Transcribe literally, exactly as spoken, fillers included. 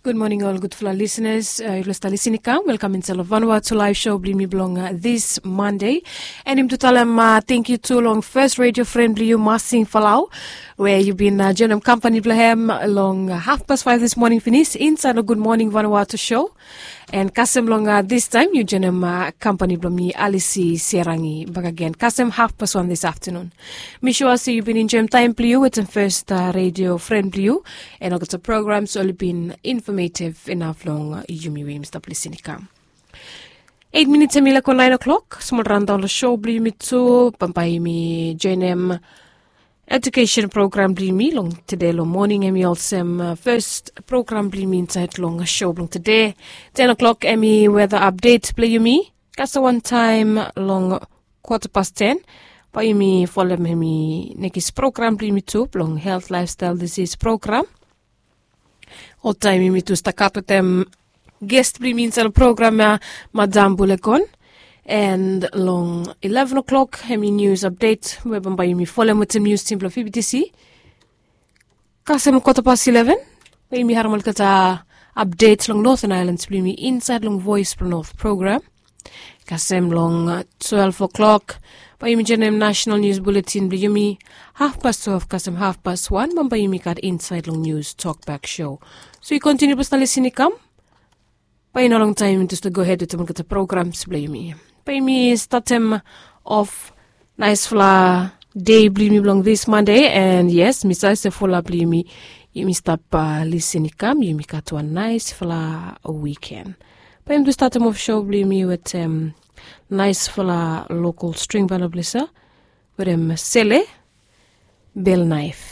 Gud moning ol gudfala lisenas. Yufala stap lisin i kam, welkam insait long Vanuatu Live Show blong yumi blong dis Mande. And yumi tu talem tengkiu tu long fes redio fren blong yu, Masing Falau, we yu bin joinim kampani blong hem long hafpas faef dis moning finis insait long Gud Moning Vanuatu Show. And kasem long distaem yu joinim kampani blong mi, Alisi Serangi, bakegen kasem hafpas wan dis aftanun. Mi sua se yu bin enjoim taem blong yu wetem fes redio fren blong yu, and olgeta programs oli bin infamativ inaf long yumi we yumi stap lisin i kam. Eit minits hem i laik go naen o'klok, smol raondaon long show blong yumi tu, bambae yumi joinim ejukesen program blong yumi long tede long moning. Hem i olsem fes program blong yumi insait long show blong tede. Ten o'klok hem i weta apdet blong yumi. Kasem wantaem long kwata pas ten bae yumi folem hem i nekis program blong yumi tu blong helt, laefstael, disis program. Oltaem yumi tu stap gat wetem ges blong yumi insait long program ya, Madam Bulekon. And long ileven o'klok hem i nius apdet we bambae yumi folem wetem nius tim blong P B T C. Kasem kwata pas ileven bae yumi harem olgeta apdet long Northern Islands blong yumi insait long Voes blong Noth program. Kasem long twelef o'klok bae yumi joinim nasenal nius buletin blong yumi. Hafpas twelef kasem hafpas wan bambae yumi gat insait long nius tokbak show. So yu kontiniu blong stap lisin i kam, bae i no longtaem yumi tu stap gohed wetem olgeta programs blong yumi. Bae yumi statem of naesfala dei blong yumi blong dis Mande. And yes, mi save se fulap blong yumi, yumi stap lisin i kam, yumi gat wan naesfala wiken. Bae yumi tu statem of show blong yumi wetem naesfala lokol string banda blong yumi wetem Sele Belnaef.